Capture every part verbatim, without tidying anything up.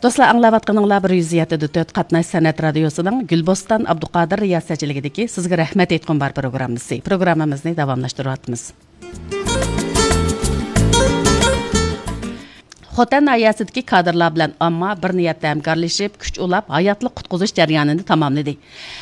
دوستلار، ئاڭلاۋاتقىنىڭلار بىر يۈز يەتتە دە تۆت قاتناش سەنئەت رادىيوسىنىڭ گۈلبوستان ئابدۇقادىر رىياسەتچىلىكىدىكى سىزگە رەھمەت ئېيتقۇم بار پروگراممىسى. پروگراممىمىزنى داۋاملاشتۇرۇۋاتىمىز. خوتەن ناھىيەسىدىكى كادىرلار بىلەن ئامما بىر نىيەتتە ھەمكارلىشىپ، كۈچ ئۇلاپ، ھاياتلىق قۇتقۇزۇش جەريانىنى تاماملىدى.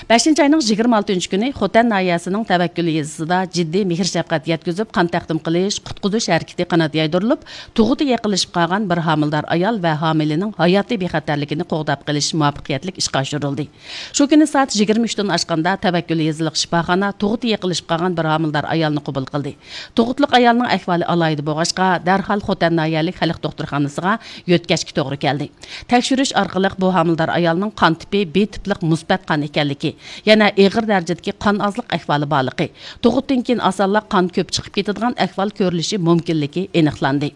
بەشىنچى ئاينىڭ يىگىرمە ئالتىنچى كۈنى خوتەن ناھىيەسىنىڭ تەۋەككۈل يېزىسىدا جىددىي مېھىر-شەپقەت يەتكۈزۈپ، قان تەقدىم قىلىش، قۇتقۇزۇش ھەرىكىتى قانات يايدۇرۇلۇپ، تۇغۇتى يېقىنلىشىپ قالغان بىر ھامىلىدار ئايال ۋە ھامىلىنىڭ ھاياتىي بىخەتەرلىكىنى قوغداپ قېلىش مۇۋەپپەقىيەتلىك ئىشقا ئاشۇرۇلدى. شۇ كۈنى سائەت يىگىرمە ئۈچتىن ئاشقاندا تەۋەككۈل يېزىلىق شىپاخانا تۇغۇتى يېقىنلىشىپ قالغان بىر ھامىلىدار ئايالنى قوبۇل قىلدى. تۇغۇتلۇق ئايالنىڭ ئەھۋالى ئالاھىدە بولغاچقا، دەرھال خوتەن ناھىيەلىك خەلق دوختۇرخانىسىغا يۆتكەشكە توغرا كەلدى. تەكشۈرۈش ئارقىلىق بۇ ھامىلىدار ئايالنىڭ قان تىپى بى تىپلىق مۇسبەت قان ئىكەنلىكى، يەنە ئېغىر دەرىجىدىكى قان ئازلىق ئەھۋالى بارلىقى، تۇغۇتتىن كېيىن ئاسانلا قان كۆپ چىقىپ كېتىدىغان ئەھۋال كۆرۈلۈشى مۇمكىنلىكى ئېنىقلاندى.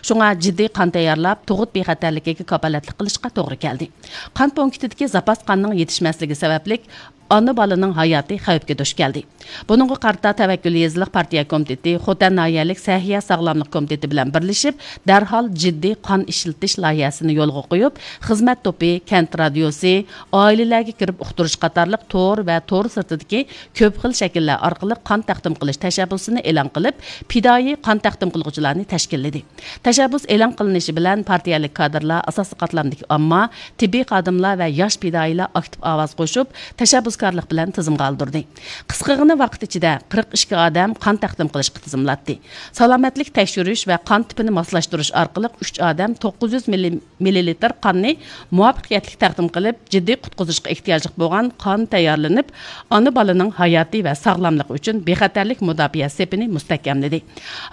شۇڭا جىددىي قان تەييارلاپ، تۇغۇت بىخەتەرلىكىگە كاپالەتلىك قىلىشقا توغرا كەلدى. قان پونكىتىدىكى زاپاس قاننىڭ يېتىشمەسلىكى سەۋەبلىك، ئانا بالىنىڭ ھاياتى خەۋپكە دۇچ كەلدى. بۇنىڭغا قارىتا تەۋەككۈل يېزىلىق پارتىيە كومىتېتى خوتەن ناھىيەلىك سەھىيە ساغلاملىق كومىتېتى بىلەن بىرلىشىپ، دەرھال جىددىي قان ئىشلىتىش لايىھەسىنى يولغا قويۇپ، خىزمەت توپى، كەنت رادىيوسى، ئائىلىلەرگە كىرىپ ئۇقتۇرۇش قاتارلىق تور ۋە تور سىرتىدىكى كۆپ خىل شەكىللەر ئارقىلىق قان تەقدىم قىلىش تەشەببۇسىنى ئېلان قىلىپ، پىدائىي قان تەقدىم قىلغۇچىلارنى تەشكىللىدى. تەشەببۇس ئېلان قىلىنىشى بىلەن، پارتىيەلىك كادىرلار، ئاساسىي قاتلامدىكى ئامما، تېببىي خادىملار ۋە ياش پىدائىيلار ئاكتىپ ئاۋاز قوشۇپ، تەشەببۇسكارلىق بىلەن تىزىمغا ئالدۇردى. قىسقىغىنە ۋاقىت ئىچىدە قىرىق ئىككى ئادەم قان تەقدىم قىلىشقا تىزىملاتتى. سالامەتلىك تەكشۈرۈش ۋە قان تىپىنى ماسلاشتۇرۇش ئارقىلىق ئۈچ ئادەم توققۇز يۈز مىللىلىتىر قاننى مۇۋەپپەقىيەتلىك تەقدىم قىلىپ، جىددىي قۇتقۇزۇشقا ئېھتىياجلىق بولغان قان تەييارلىنىپ، ئانا بالىنىڭ ھاياتى ۋە ساغلاملىقى ئۈچۈن بىخەتەرلىك مۇداپىئە سېپىنى مۇستەھكەملىدى.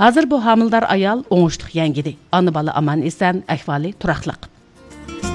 ھازىر بۇ ھامىلىدار ئايال ئوڭۇشلۇق يەڭگىدى. ئانا بالا ئامان-ئېسەن، ئەھۋالى تۇراقلىق.